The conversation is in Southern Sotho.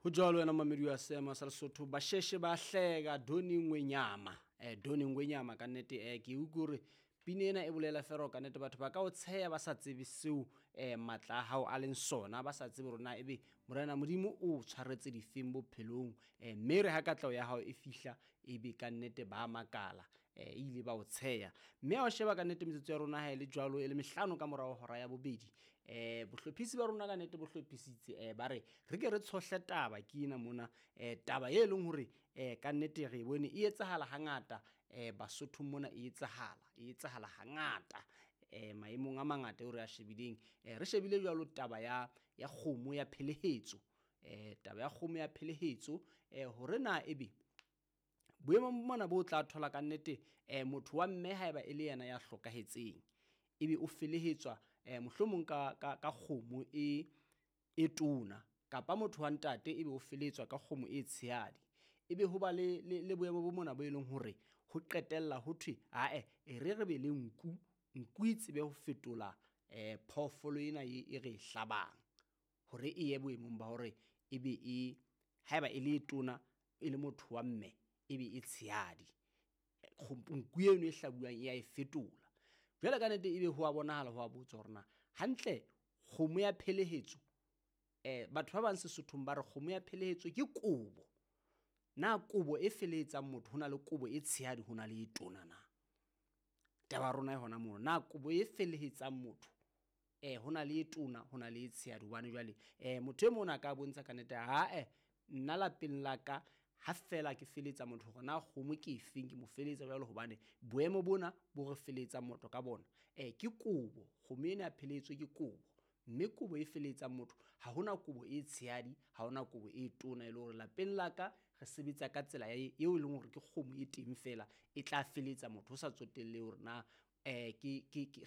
Ho jwalo wena mamedi wa seema sa Lesotho, basheshe ba hleka Doni Ngwenyama. Doni Ngwenyama ka nnete, ke utlwe hore pina ena e bolela fela ka nnete batho ba ka o tsheya ba sa tsebe seo matla a hao a leng sona, ba sa tsebe hore na ebe Morena Modimo o tshwaretse difeng bophelong. Mme re ha katleho ya hao e fihla ebe ka nnete ba makala, e ile ba o tsheya. Mme ha o sheba ka nnete metsotso ya rona ha e le jwalo e le 5 ka morao hora ya bobedi. Bohlophisi ba rona ka nnete bo hlophisitse, ba re re ke re tshohle taba ke ena mona, taba e leng hore ka nnete re bone e etsahala hangata, Basothong mona e etsahala hangata, maemong a mangata eo re a shebileng. Re shebile jwalo taba ya kgomo ya phelehetso, taba ya kgomo ya phelehetso, hore na ebe boemong mona bo tla thola ka nnete, motho wa mme haeba e le yena ya hlokahetseng, ebe o felehetswa mohlomong ka kgomo e tona, kapa motho wa ntate ebe o felehetswa ka kgomo e tshehadi. Ebe ho ba le boemo bo mona bo e leng hore ho qetella ho thwe ae e re be le nku, nku e tsebe ho fetola phoofolo ena e re e hlabang hore e ye boemong ba hore ebe e haeba e le e tona e le motho wa mme ebe e tshehadi. Nku eno e hlabuwang e ya e fetola. Jwale ka nnete ebe ho a bonahala ho a botswa hore na hantle kgomo ya phelehetso, batho ba bang Sesothong ba re kgomo ya phelehetso ke kobo. Na kobo e felehetsang motho hona le kobo e tshehadi hona le e tona na? Taba ya rona e hona mono, na kobo e felehetsang motho hona le e tona hona le e tshehadi? Hobane jwale motho e mong a ka bontsha ka nnete ae nna lapeng la ka ha fela ke feletsa motho hore na kgomo ke efeng, ke mo feletsa jwalo hobane boemo bona bo re felehetsang motho ka bona, ke kobo. Kgomo ena ya pheletso ke kobo, mme kobo e felehetsang motho ha hona kobo e tshehadi, ha hona kobo e tona e le hore lapeng la ka re sebetsa ka tsela eo e leng hore ke kgomo e teng fela e tla feletsa motho ho sa tsotelle hore na ke.